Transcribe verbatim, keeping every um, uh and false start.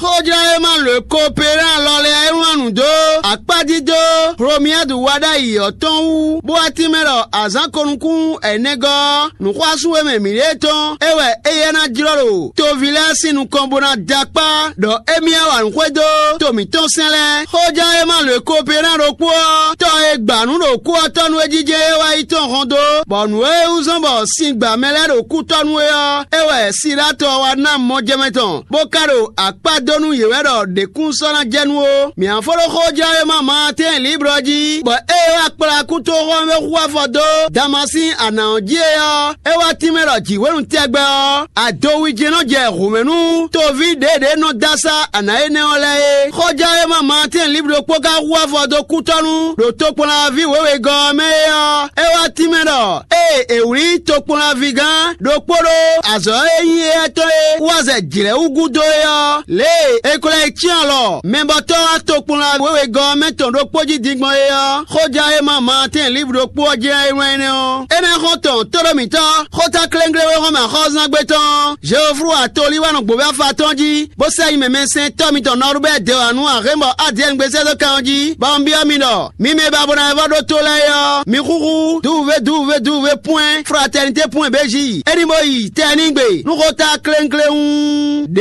Xójlɔ́ e ma lǒ ko Peran lɔ lɛ́ɛ e wlán nǔ dó akpájí dó Hlomyadu wa ɖ'ayǐ ɔ́ tɔn wú, bó wá tínmɛ ɖɔ azǎn ko nukún ɛnɛgɔ́ ɔ́, nǔxwású e mɛ mǐɖée tɔn é wɛ éyɛ́ ná jlɔ́ ɖo toví lɛ́ɛ sín nukɔn bó ná dó akpá ɖɔ émí wá wa nǔ xwedó to mǐtɔn sɛn lɛ́ɛ. Xójlɔ́ e ma lǒ ko Peran ɖokpó ɔ́, tɔ e gba nǔ ɖo kú ɔ́ tɔn nú é jijɛ é wá yi tɔn hɔn dó, bɔ nǔ e wú zɔ́n bɔ sin gba mɛ lɛ́ɛ ɖo kú tɔn nú é ɔ́, é wɛ Silatɔ wá ná mɔjɛmɛ tɔn, bó ka ɖo akpá dó nú yě wɛ ɖɔ ɖě kún sɔ́ ná jɛ nú ó. Mǐ fó ɖó xójlɔ́ e ma Maatɛ́n Liblɔ jí, bɔ ée é wá kplá kútoxɔ́mɛ xú afɔ dó Damasín anǎ ɔ́ jí é ɔ́, é wá tínmɛ ɖɔ jǐ hwenu tɛgbɛ ɔ́, adowijě nɔ jɛ hǔmɛ nú toví ɖěɖě nɔ dó asá anǎ énɛ́ ɔ́ lɛ́ɛ é. Xɔjɛ́wéma Maatɛ́n Libló kpó ka hu afɔ dó kútɔ́ nú ɖo tokpɔnlaví wěwegɔ́ ɔ́ mɛ é ɔ́, é wá tínmɛ ɖɔ ée è wlí tokpɔnlavígán ɖokpó ɖó azɔ̌ e nyí éyɛ́ tɔn e wú azɛ jlɛ̌ wú gúdo é ɔ́, lě e è ko lɛ́ yi cyán alɔ mɛbɔtɔ́ tokpɔnla wěwegɔ́ ɔ́ mɛ tɔn ɖokpó jí din gbɔn é ɔ́, xɔjɛ́wéma Maatɛ́n Libló kpó ɔ́ jlɛ́n é wlán énɛ́ ɔ́. Énɛ́ xɔ́ntɔn tóɖómǐtɔ́, xóta klénglé wé xɔ́mɛ axɔ́zángbé tɔn Jeoflu atolíwánɔ gbǒvé afa tɔn jí, bó sɛ́ nyi mɛmɛsɛntɔ́ mitɔn Nɔrubɛ́ dewanu Ahɛ́nbɔ Adiɛngbé sɛ́ dó kan ɔ́ jí, bɔ un byɔ́ mi ɖɔ: mi mɛ e ba bo ná vɔ́ ɖó tó lɛ́ɛ é ɔ́, mi xúxú duwuvé duwuvé duwuvé pwɛ́n fratɛnité pwɛ́n béji, é ní bó yi tɛnígbe nú xóta klénglé hú ɖě